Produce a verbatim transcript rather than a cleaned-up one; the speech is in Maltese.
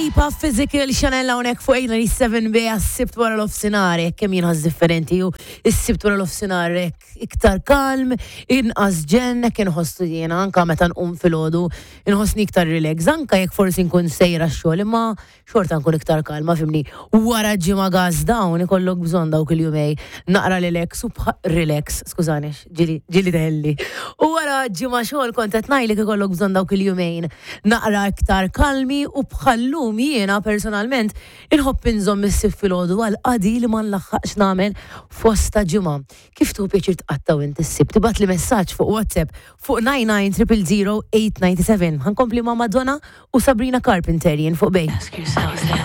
Lipa, Physical, Chanel hawnhekk fuq eight ninety-seven B. Għas-Sibt wara nofsinhar, hekk kemm jinħass differenti u s-Sibt wara nofsinhar hekk iktar kalm, inqas ġenn, hekk inħossu jiena anka meta nqum filgħodu, inħossni iktar relax, anka jekk forsi nkun sejra x-xogħol, imma xorta nkun iktar kalma, fhimni. Wara ġimgħa gas down ikollok bżonn dawk il-jumej naqra relax u relax, skużani, ġieli ġieli teħilli. U wara ġimgħa xogħol kont qed ngħidlek ikollok bżonn dawk il-jumejn naqra iktar kalmi u bħallum jiena personalment inħobb inżomm is-Sibt filgħodu għal qadi li ma nlaħħaqx nagħmel fosta ġimgħa. Kif tieħu pjaċir tqattgħu inti s-Sibt? Tibgħatli messaġġ fuq WhatsApp fuq nine nine zero zero zero eight nine seven. Ħa nkompli ma' Madonna u Sabrina Carpenter jien fuq Bay. Ask yourself this.